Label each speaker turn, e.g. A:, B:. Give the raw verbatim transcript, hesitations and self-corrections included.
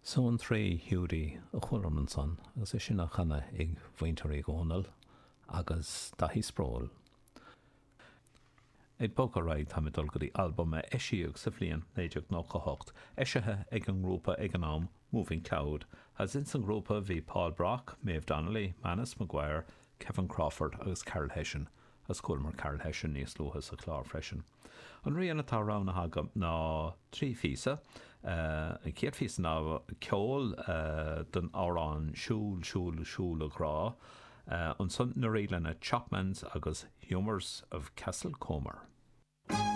A: So an Three Hiúdaí a chualamar ansan agus é sin á chanadh ag Muintir Uí Dhónaill agus Daithí Sproule. Ag bogadh ar aghaidh táim ag dul go dtí albam a eisíodh sa bhliain naoi déag nócha hocht, eisithe ag an ngrúpa ag an am, Moving Cloud, agus ins an ngrúpa bhí Paul Brock, Maeve Donnelly, Manus Maguire, Kevin Crawford agus Carol Hession, agus chualamar Carol Hession níos luaithe sa chlár freisin. An rian atá roghnaithe agam ná trí phíosa. An chéad phíosa ná ceol don amhrán Siúil, Siúil, Siúil a Ghrá, ansan na ríleanna Chapman's agus Humours of Castlecomer.